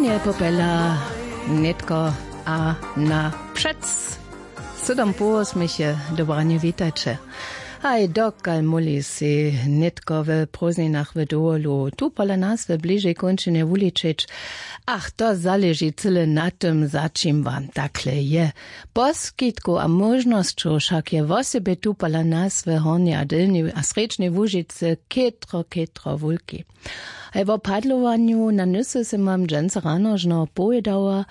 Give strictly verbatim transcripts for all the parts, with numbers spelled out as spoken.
Nje popela nětko a na přec. Sydom połosměch je dobranje, witajće. Haj, dokal móhli sej nětko w prózdninach w dowolu tu pola nas w bližej kónčinje wuličeć. Ach, to zaleži cyle na tym, za čim wam takle je. Poskitkow a móžnosćow wšak je wosebje tu pola nas w hornjej a delnjej a srjedźnej łužicy chětro chětro wulki. Haj, wo padlowanju na nysy sym wam dźensa rano žno powědała.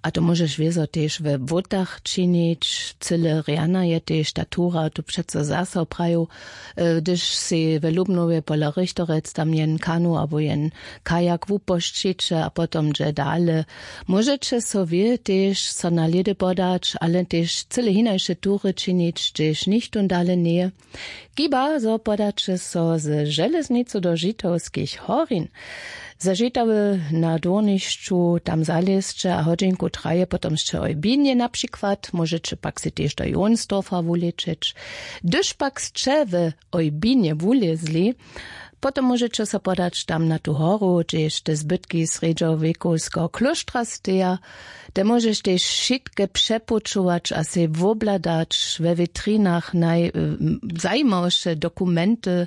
A to móžeš wězo tež we błótach činić. Cyle rjana je tež ta tura tu přeco zaso prajił. Hdyž sej w lubnowje pola richterec tam jen kanu abo jen kajak wupošćiće a potom dźe dale, móžeće so wě tež so na lědy podać, ale tež cyle hinaše tury činić, hdźež nichtón dale njeje. Chiba zo podaće so ze železnicu do žitawskich horin. Za žitawy na dwórnišću tam zalězće a hodźinku traje potom sće oj binje na přikład móžeće pak sej tež do jonsdorfa wulećeć. Hdyž pak sće w oj binje wulězli, potom móžeće so podać tam na tu horu hdźež te zbytki srjedźowjekowskeho klóštra steja. Te móžeš tež wšitke přepućować a sej wobhladać we witrinach naj zajimawše dokumenty,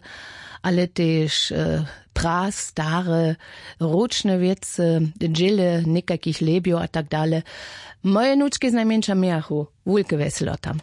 ale tež prastare ručne wěcy, dźěle někajkich lebjow a tak dale. Moje nučki znajmjeńša mějachu wulke wjeselo tam.